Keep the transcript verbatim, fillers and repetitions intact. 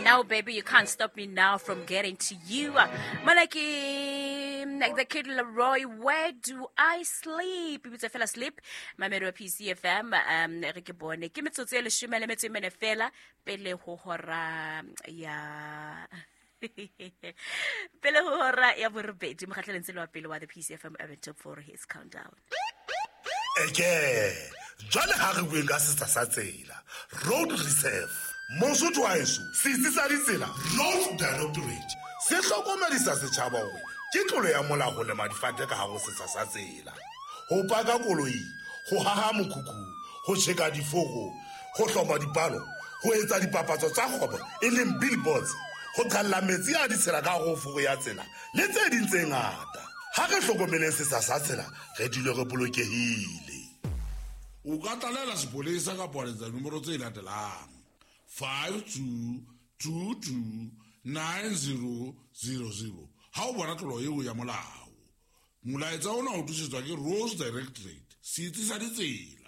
Now, baby, you can't stop me now from getting to you. Malaki, the Kid Leroy, where do I sleep? Ibitse fela sleep. Mamedi wa P C F M, um, re ke bone. Ke metsotso e leshome le metso e mene fela pele ho hora ya pele ho hora ya borobedi, mokgahlelong tsela wa pele wa the P C F M Urban Top four Hits Countdown. Eke, jwale ha re bueng ka setsha sa tsela, Road Reserve. Mosotho wa heso, setsi sa ditsela, Road Directorate, se hlokomedisa setjhaba hore ke tlolo ya molao ho lema difate ka hare ho setsha sa tsela. Ho paka koloi, ho haha mokhukhu, ho tjheka diforo, ho hloma dipalo, ho etsa dipapatso tsa kgwebo e leng billboards, ho qhalla metsi a ditshila ka hare ho foro ya tsela le tse ding tse ngata. Ha re hlokomeleng setsha sa tsela, re dule re bolokehile. O ka tlalela sepolesa kapa wa letsa dinomoro tse latelang: five two two two nine zero zero zero. Ha o bona tlolo eo ya molao. Molaetsa ona o tlisetswa ke Roads Directorate, setsi sa ditsela.